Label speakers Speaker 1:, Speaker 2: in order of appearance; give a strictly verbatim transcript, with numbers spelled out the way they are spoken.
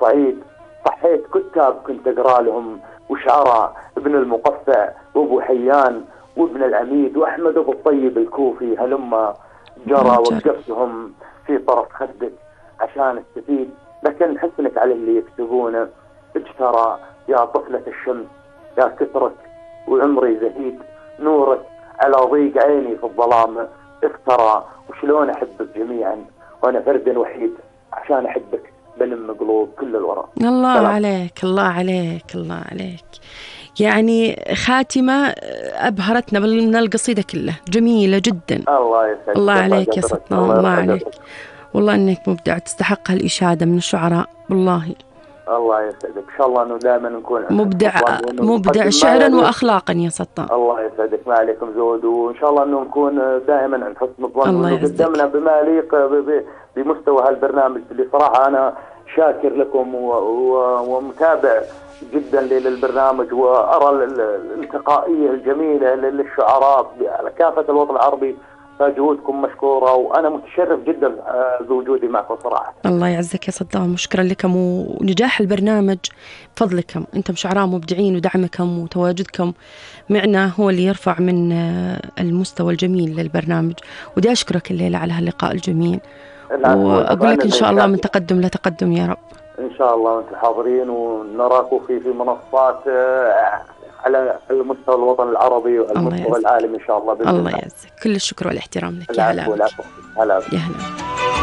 Speaker 1: الصعيد صحيت كتاب كنت أقرأ لهم وشعراء، ابن المقفع وابو حيان وابن العميد وأحمد أبو الطيب الكوفي هلما جرى، وقفتهم في طرف خدك عشان استفيد، لكن حسنك على اللي يكتبونه اجترى يا طفلة الشمس يا كثرك وعمري زهيد، نورك على ضيق عيني في الظلام افترى، وشلون أحبك جميعا وأنا فرد وحيد عشان أحبك بلم قلوب كل الورى.
Speaker 2: الله
Speaker 1: سلام.
Speaker 2: عليك الله عليك الله عليك، يعني خاتمة أبهرتنا من القصيدة كلها، جميلة جدا.
Speaker 1: الله يسعدك.
Speaker 2: الله عليك يا سطنا، الله, الله عليك، والله إنك مبدع، تستحق هالإشادة من الشعراء والله.
Speaker 1: الله يسعدك، إن شاء الله إنه دائما نكون
Speaker 2: مبدع مبدع شعرا وأخلاقا يا سطنا.
Speaker 1: الله يسعدك، ما عليكم زود، وإن شاء الله إنه نكون دائما عند حسن الظن وقدمنا بما يليق بمستوى هالبرنامج اللي صراحة أنا شاكر لكم ومتابع جدا للبرنامج، وأرى الالتقائية الجميلة للشعراء على كافة الوطن العربي، فجهودكم مشكورة، وأنا متشرف جدا بوجودي معكم صراحة.
Speaker 2: الله يعزك يا صدام، مشكرا لكم، ونجاح البرنامج فضلكم، أنتم شعراء مبدعين، ودعمكم وتواجدكم معنا هو اللي يرفع من المستوى الجميل للبرنامج، ودي أشكرك الليلة على هاللقاء الجميل، وأقول لك إن شاء الله من تقدم لتقدم يا رب.
Speaker 1: إن شاء الله وأنتم حاضرين، ونراكم في في منصات على المستوى الوطن العربي والمستوى العالمي إن شاء الله.
Speaker 2: الله يعزك، كل الشكر والاحترام لك. يا هلا.
Speaker 1: هلا.
Speaker 2: يا هلا.